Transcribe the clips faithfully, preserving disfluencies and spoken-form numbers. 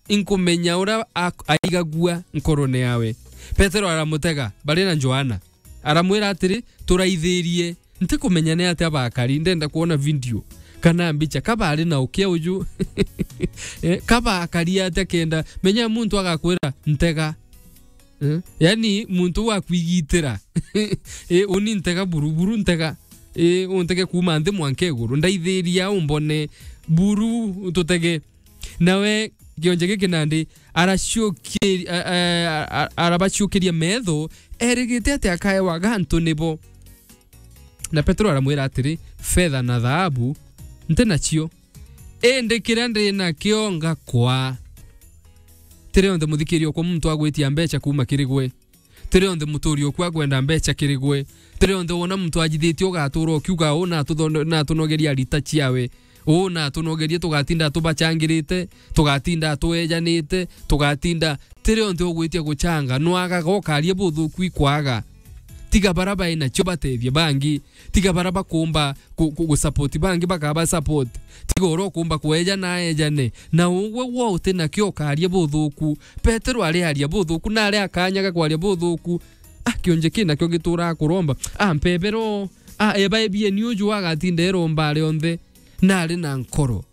inkumenya uria ak-, aigagua nkorone yawe. Petero aramutega bari na Johana. Aramwira atiri, "Turaithirie, ntikumenya ni atia bakari, ndenda kwona video kana mbicha, ka bari na ukia uju." Eh, ka bakari atia kenda, menya muntu agakwira, "Ntega." Eh, yani muntu wa kwigitira. Eh, uni ntega buru, buru ntega. Eh, untege kuuma nthi mwanka iguru. Ndaithiria umbone buru tutege. Nawe kionje giki nandi araciuki-, a-, a-, a-, arabaciukiria metho, erigite ati akaewa gantu nibo. Na Petero aramwira atiri, "Fetha na thaabu nti nacio, indi kiria ndi nakio ngakwa." Tiri onthe muthikiria okwa muntu agwitia mbeca kuuma kiri gwe. Tiri onthe muturi okwa akwenda mbeca kiri gwe. Tiri onthe wona muntu ajithitie ugatuura ukiuga, "Uu natuthone-, natunogeria rita ciawe. Uu natunogerie, tugatinda tubachangirite, tugatinda twejanite, tugatinda." Tiri onthe ugwitia guchanga, nwagaga ukaria buthuku ikwaga. Tiga bara bai nacio batethie bangi. Tiga bara bakumba ku-, ku-, gusupport bangi bakaba support. Tiga uria ukumba kweja na ejane. Na ugwe wo uti nakio ukaria buthuku. Petero ari aria buthuku, na ari akanyaga kwaria buthuku. Ah, kionje ki nakio gituraga kuromba. Ah, mpebero. Ah, eba ebieni uju agatinda eromba ari onthe. Na ari na nkoro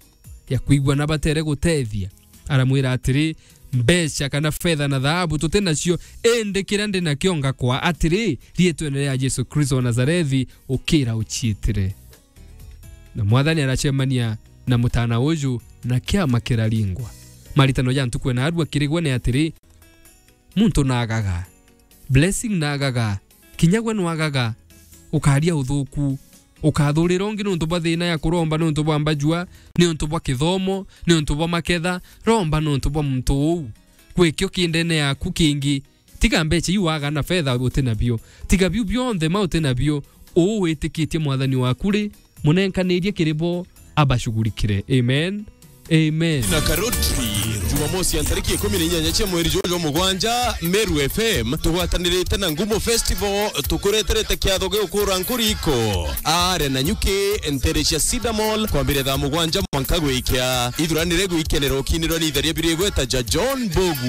ya kwigua na batere gutethia. Aramwira atiri, "Mbeca kana fetha na thaabu tuti nacio, indi kiria ndi nakio ngakwa atiri, riitwene ria Jesu Kristo wa Nazarethi, ukira uciitire." Na Mwathani aracemania na mutana uju, na kiama kiraringwa. Maritano ja ntuku ena arua kiri gwe ni atiri, muntu naagaga. Blessing naagaga. Kinya gwe nwagaga. Ukaria uthuku. Ukathurira ungi niuntu bwa thina ya kuromba, niuntu bwa mbajua, niuntu bwa kithomo, niuntu bwa maketha. Romba niuntu bwa muntu uu. Gwikio ki ndene yaku kingi. Tiga mbeca iu waga na fetha uti nabio. Tiga biu bionthe ma uti nabio. Uu witikitie Mwathani waku ri, munenkanirie kiri bo abashugurikire. Amen. Amen. Na Karoti, Jumamosi ya ntariki ikumi na inyanya cia mweri juju jwa mugwanja, Meru F M tugwatanirite na Ngumo Festival, tukureterete kiatho gia ukura nkuriko. Are na nyuki ntere cia Cedar Mall kwambiria thaa mugwanja mwanka gwikia. Ithuranire gwikenera ukinirwa ni itheria biria igweta ja John Mbugu.